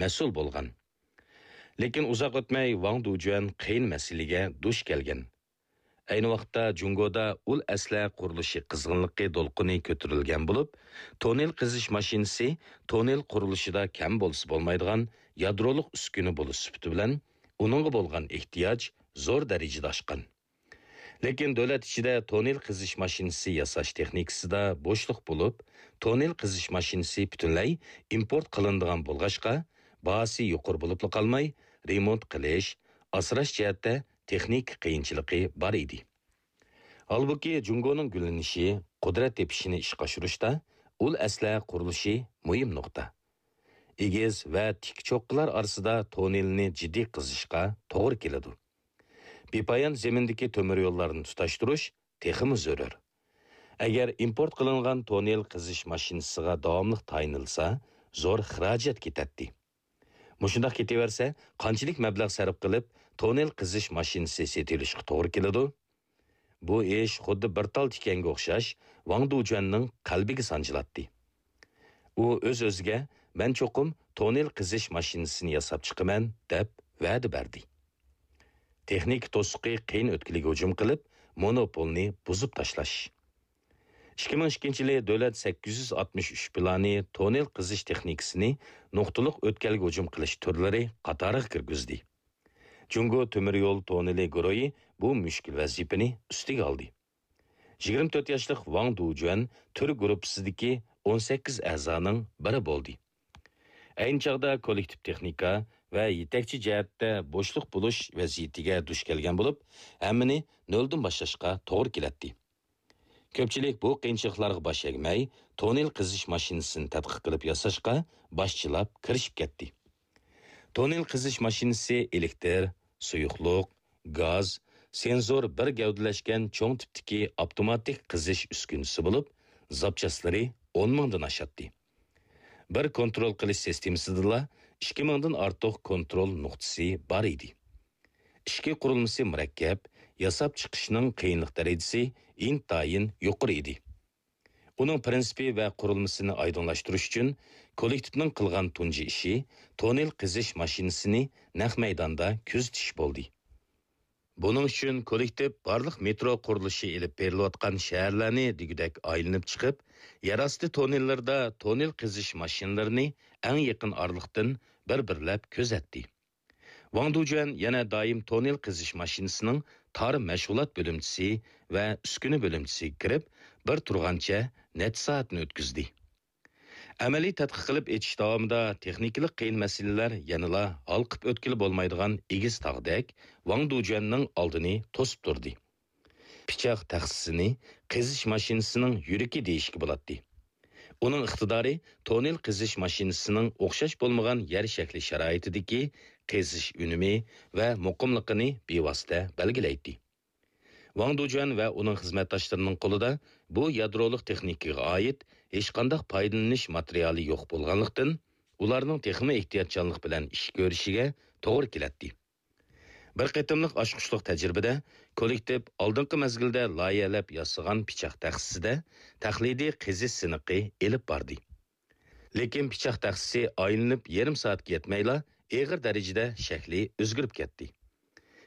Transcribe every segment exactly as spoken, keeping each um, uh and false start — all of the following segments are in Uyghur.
مەسئۇل بولغان. لېكىن ئۇزاق ئۆتمەي ۋاڭ دۇجۈەن قىيىن مەسىلىگە دۇچ كەلگەن. ئەينى ۋاقىتتا جۇڭگودا ئۇل ئەسلىھە قۇرۇلۇشى قىزغىنلىقى دولقۇنى كۆتۈرۈلگەن بولۇپ، توننېل قېزىش ماشىنىسى توننېل قۇرۇلۇشىدا كەم بولسا بولمايدىغان يادرولۇق ئۈسكۈنە بولۇش سۈپىتى بىلەن ئۇنىڭغا بولغان ئېھتىياج زور دەرىجىدە ئاشقان. لېكىن دۆلەت ئىچىدە توننېل قېزىش ماشىنىسى ياساش تېخنىكىسىدا بوشلۇق بولۇپ، توننېل قېزىش ماشىنىسى پۈتۈنلەي ئىمپورت قىلىنىدىغان بولغاچقا، باھاسى يۇقىرى بولۇپلا قالماي، رېمونت قىلىش، ئاسراش جەھەتتە تېخنىكا قىيىنچىلىقى بار ئىدى. ھالبۇكى، جۇڭگونىڭ گۈللىنىشى، قۇدرەت تېپىشىنى ئىشقا ئاشۇرۇشتا ئۇل ئەسلىھە قۇرۇلۇشى مۇھىم نۇقتا. ئېگىز ۋە تىك چوققىلار ئارىسىدا توننېلنى جىددىي قېزىشقا توغرا كېلىدۇ. بىپايان زېمىندىكى تۆمۈر يوللارنى تۇتاشتۇرۇش تېخىمۇ زۆرۈر. ئەگەر ئىمپورت قىلىنغان توننېل قېزىش ماشىنىسىغا داۋاملىق تايىنىلسا، زور خىراجەت كېتەتتى. مۇشۇنداق كېتىۋەرسە، قانچىلىك مەبلەغ سەرپ قىلىپ، توننېل قېزىش ماشىنىسى سېتىۋېلىشقا توغرا كېلىدۇ؟ بۇ ئىش خۇددى بىر تال تىكەنگە ئوخشاش، ۋاڭ دۇجۈەننىڭ قەلبىگە سانجىلاتتى. ئۇ ئۆز-ئۆزىگە، «مەن چوقۇم توننېل قېزىش ماشىنىسىنى ياساپ چىقىمەن» دەپ ۋەدە بەردى. تېخنىكا توسۇقى قىيىن ئۆتكىلىگە ھۇجۇم قىلىپ، مونوپولنى بۇزۇپ تاشلاش. ئىككى مىڭ ئىككىنچى يىلى دۆلەت سەككىز يۈز ئاتمىش ئۈچ پىلانى توننېل قېزىش تېخنىكىسىنى نۇقتىلىق ئۆتكەلگە ھۇجۇم قىلىش تۈرلىرى قاتارىغا كىرگۈزدى. جۇڭگو تۆمۈر يول توننېلى گۇرۇھى بۇ مۈشكۈل ۋەزىپىنى ئۈستىگە ئالدى. يىگىرمە تۆت ياشلىق ۋاڭ دۇجۈەن تۈر گۇرۇپپىسىدىكى ئون سەككىز ئەزانىڭ بىرى بولدى. ئەينى چاغدا كوللېكتىپ تېخنىكا ۋە يېتەكچى جەھەتتە بوشلۇق بولۇش ۋەزىيىتىگە دۇچ كەلگەن بولۇپ، ھەممىنى نۆلدىن باشلاشقا توغرا كېلەتتى. كۆپچىلىك بۇ قىيىنچىلىقلارغا باش ئەگمەي، توننېل قېزىش ماشىنىسىنى تەتقىق قىلىپ ياساشقا باشچىلاپ كىرىشىپ كەتتى. توننېل قېزىش ماشىنىسى ئېلېكتىر، سۇيۇقلۇق، گاز، سېنزور بىر گەۋدىلەشكەن چوڭ تىپتىكى ئاپتوماتىك قېزىش ئۈسكۈنىسى بولۇپ، زاپچاسلىرى ئون مىڭدىن ئاشاتتى. بىر كونترول قىلىش سىستېمىسىدىلا ئىككى مىڭدىن ئارتۇق كونترول نۇقتىسى بار ئىدى. ئىچكى قۇرۇلمىسى مۇرەككەپ، ياساپ چىقىشنىڭ قىيىنلىق دەرىجىسى ئىنتايىن يۇقىرى ئىدى. ئۇنىڭ پىرىنسىپى ۋە قۇرۇلمىسىنى ئايدىڭلاشتۇرۇش ئۈچۈن كوللېكتىپنىڭ قىلغان تۇنجى ئىشى توننېل قېزىش ماشىنىسىنى نەق مەيداندا كۆزىتىش بولدى. بۇنىڭ ئۈچۈن كوللېكتىپ بارلىق مېترو قۇرۇلۇشى ئېلىپ بېرىلىۋاتقان شەھەرلەرنى دېگۈدەك ئايلىنىپ چىقىپ، يەر ئاستى توننېللىرىدا توننېل قېزىش ماشىنىلىرىنى ئەڭ يېقىن ئارىلىقتىن بىر-بىرلەپ كۆزەتتى. ۋاڭ دۇجۈەن يەنە دائىم توننېل قېزىش ماشىنىسىنىڭ تار مەشغۇلات بۆلۈمچىسى ۋە ئۈسكۈنە بۆلۈمچىسىگە كىرىپ، بىر تۇرغانچە نەچچە سائەتنى ئۆتكۈزدى. ئەمەلىي تەتقىق قىلىپ ئېچىش داۋامىدا تېخنىكىلىق قىيىن مەسىلىلەر يەنىلا ھالقىپ ئۆتكىلى بولمايدىغان ئېگىز تاغدەك ۋاڭ دۇجۈەننىڭ ئالدىنى توسۇپ تۇردى. پىچاق تەخسىسىنى قېزىش ماشىنىسىنىڭ يۈرىكى دېيىشكە بولاتتى. ئۇنىڭ ئىقتىدارى توننېل قېزىش ماشىنىسىنىڭ ئوخشاش بولمىغان يەر شەكلى شارائىتىدىكى قېزىش ئۈنۈمى ۋە مۇقىملىقىنى بىۋاسىتە بەلگىلەيتتى. ۋاڭ دۇجۈەن ۋە ئۇنىڭ خىزمەتداشلىرىنىڭ قولىدا بۇ يادرولۇق تېخنىكىغا ئائىت ھېچقانداق پايدىلىنىش ماتېرىيالى يوق بولغانلىقتىن، ئۇلارنىڭ تېخىمۇ ئېھتىياتچانلىق بىلەن ئىش كۆرۈشىگە توغرا كېلەتتى. بىر قېتىملىق ئاچقۇچلۇق تەجرىبىدە كوللېكتىپ ئالدىنقى مەزگىلدە لايىھەلەپ ياسىغان پىچاق تەخسىسىدە تەقلىدىي قېزىش سىنىقى ئېلىپ باردى. لېكىن پىچاق تەخسىسى ئايلىنىپ يېرىم سائەتكە يەتمەيلا، ئېغىر دەرىجىدە شەكلى ئۆزگىرىپ كەتتى.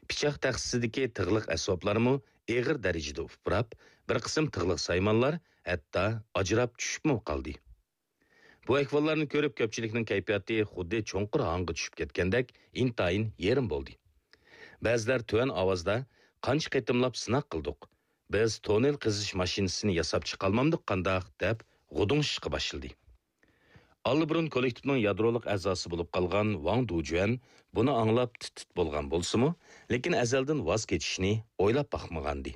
پىچاق تەخسىسىدىكى تىغلىق ئەسۋابلارمۇ ئېغىر دەرىجىدە ئۇپراپ، بىر قىسىم تىغلىق سايمانلار ھەتتا ئاجراپ چۈشۈپمۇ قالدى. بۇ ئەھۋاللارنى كۆرۈپ، كۆپچىلىكنىڭ كەيپىياتى خۇددى چوڭقۇر ھاڭغا چۈشۈپ كەتكەندەك ئىنتايىن يېرىم بولدى. بەزىلەر تۆۋەن ئاۋازدا، «قانچە قېتىملاپ سىناق قىلدۇق، بىز توننېل قېزىش ماشىنىسىنى ياساپ چىقالمامدۇق قانداق؟» دەپ غۇدۇڭشىشقا باشلىدى. ئاللىبۇرۇن كوللېكتىپنىڭ يادرولۇق ئەزاسى بولۇپ قالغان ۋاڭ دۇجۈەن بۇنى ئاڭلاپ تىت-تىت بولغان بولسىمۇ، لېكىن ئەزەلدىن ۋاز كېچىشنى ئويلاپ باقمىغانىدى.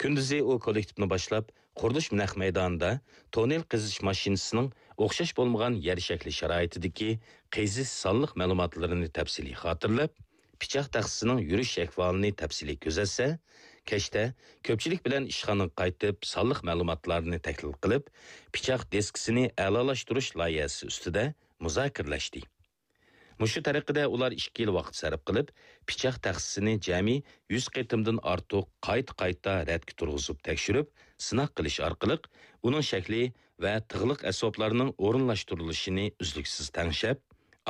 كۈندۈزى ئۇ كوللېكتىپنى باشلاپ، قۇرۇلۇش نەق مەيدانىدا توننېل قېزىش ماشىنىسىنىڭ ئوخشاش بولمىغان يەر شەكلى شارائىتىدىكى قېزىش سانلىق مەلۇماتلىرىنى تەپسىلىي خاتىرىلەپ، پىچاق تەخسىسىنىڭ يۈرۈش ئەھۋالىنى تەپسىلىي كۆزەتسە، كەچتە كۆپچىلىك بىلەن ئىشخانىغا قايتىپ، سانلىق مەلۇماتلارنى تەھلىل قىلىپ، پىچاق دىسكىسىنى ئەلالاشتۇرۇش لايىھەسى ئۈستىدە مۇزاكىرىلەشتى. مۇشۇ تەرىقىدە ئۇلار ئىككى يىل ۋاقىت سەرپ قىلىپ، پىچاق تەخسىسىنى جەمئىي يۈز قېتىمدىن ئارتۇق قايتا-قايتا رەتكە تۇرغۇزۇپ تەكشۈرۈپ، سىناق قىلىش ئارقىلىق ئۇنىڭ شەكلى ۋە تىغلىق ئەسۋابلارنىڭ ئورۇنلاشتۇرۇلۇشىنى ئۈزلۈكسىز تەڭشەپ،